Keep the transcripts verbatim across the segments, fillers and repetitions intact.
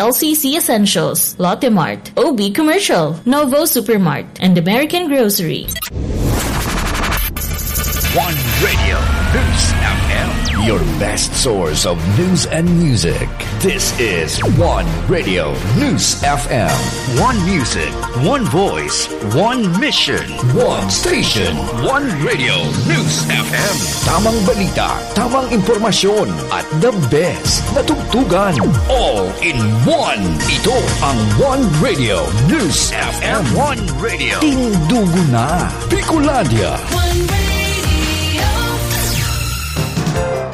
L C C Essentials, Lotte Mart, O B Commercial, Novo Supermart, and American Grocery. One Radio News F M, your best source of news and music. This is One Radio News F M. One music, one voice, one mission. One station. One Radio News F M. Tamang balita, tamang impormasyon, at the best na tugtugan. All in one. Ito ang One Radio News F M. One Radio. Tindugo na, Bicolandia. One Radio.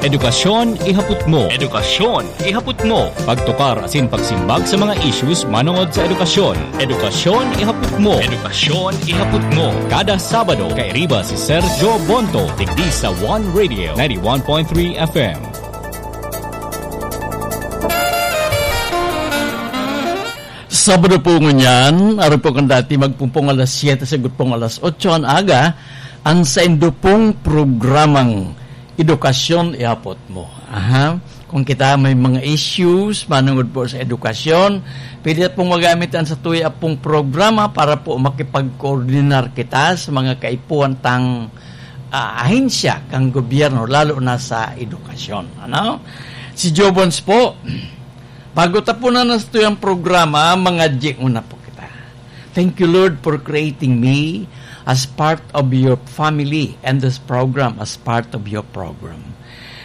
Edukasyon ihapot mo. Edukasyon ihapot mo. Pagtukar asin pagsimbag sa mga issues manongod sa edukasyon. Edukasyon ihapot mo. Edukasyon ihapot mo. Kada Sabado, kairiba si Sergio Bonto, digdi sa One Radio ninety-one point three F M. Sabado po ngunyan, ari po kan dati magpumpong alas siyete, sagot pong alas otso an aga, ang saindo pong programang Edukasyon Ihapot Mo. Aha. Kung kita may mga issues manungod po sa edukasyon, pwede pong magamit ang satuya pong programa para po makipag-koordinar kita sa mga kaipuhan tang, ah, ahensya kang gobyerno, lalo na sa edukasyon. Ano? Si Jobons po, bago tapunan ang satuyang programa, mga G una po kita. Thank you, Lord, for creating me as part of your family and this program as part of your program.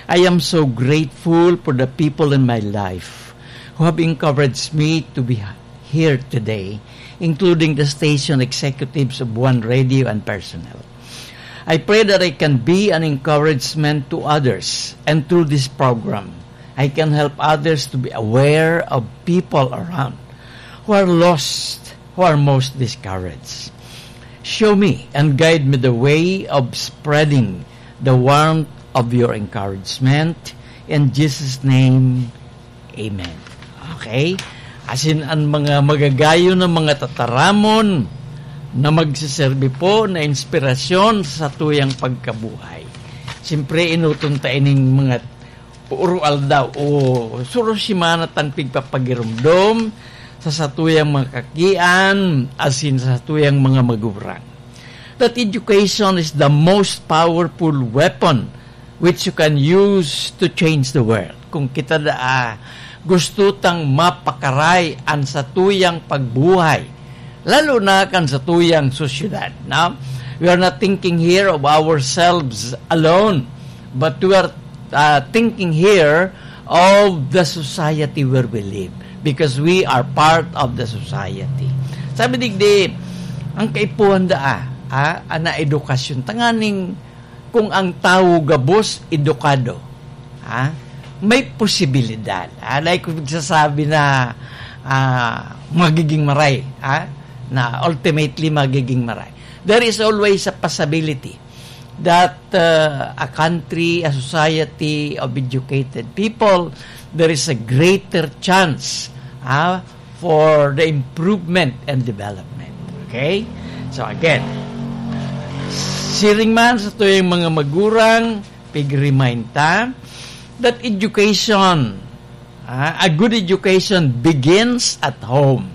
I am so grateful for the people in my life who have encouraged me to be here today, including the station executives of One Radio and personnel. I pray that I can be an encouragement to others, and through this program, I can help others to be aware of people around who are lost, who are most discouraged. Show me and guide me the way of spreading the warmth of your encouragement. In Jesus' name, amen. Okay? Asin an mga magagayon na mga tataramon na magseserbi po na inspirasyon sa satuyang pagkabuhay. Siyempre, enoton ta ining mga puro aldaw o suro semana tang pigpapagiromdom sa satuyang mga kakian asin sa satuyang mga magurang. That education is the most powerful weapon which you can use to change the world. Kung kita daa gusto tang mapakaray an satuyang pagbuhay, lalo na kan satuyang sosyedad, no? We are not thinking here of ourselves alone, but we are, uh, thinking here of the society where we live, because we are part of the society. Sabi digdi, ang kaipuhan daa, ah, ana edukasyon, tanganing kung ang tawo gabos edukado, ha, may posibilidad, ha, like nagsasabi na, ah, magiging maray, ha, na ultimately magiging maray. There is always a possibility that, uh, a country, a society of educated people, there is a greater chance, ha, for the improvement and development. Okay? So again, siring man satuyang mga magurang, pig-remind ta that education, ah, a good education begins at home.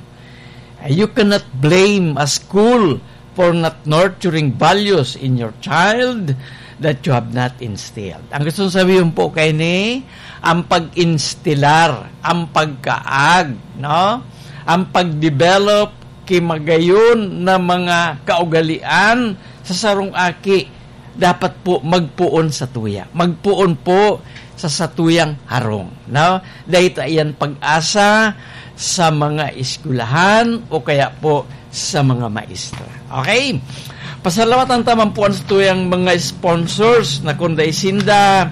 Ah, you cannot blame a school for not nurturing values in your child that you have not instilled. Ang gusto kong sabihin po kaini, ang pag-instilar, ang pagkaag, no? Ang pag-develop ki magayon na mga kaugalian sa sarong aki, dapat po magpoon satuya. Magpoon po sa satuyang harong, no? Dahil ta iyan pag-asa sa mga eskwelahan o kaya po sa mga maestra. Okay? Pasalamatan ta man po an satuyang mga sponsors na kun dai sinda,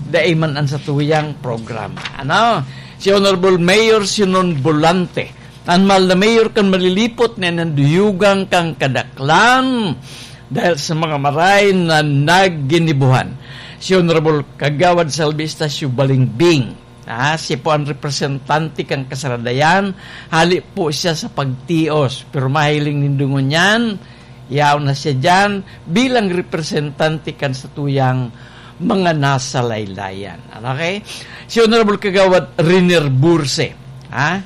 dai man an satuyang programa. Ano? Si Honorable Mayor Sinon Volante, an mahal na mayor kan malilipot na inanduyugan kan kadaklan dahil sa mga maray na nagginibuhan. Si Honorable Kagawad Salvi Estacio Balingbing, ah, siya po ang representante kan Kasaradayan. Hali po siya sa pagtios, pero mahiling nindo ngunyan, yaon na siya diyan bilang representante kan satuyang mga nasa laylayan. Okay? Si Honorable Kagawad Riner Burse, ha?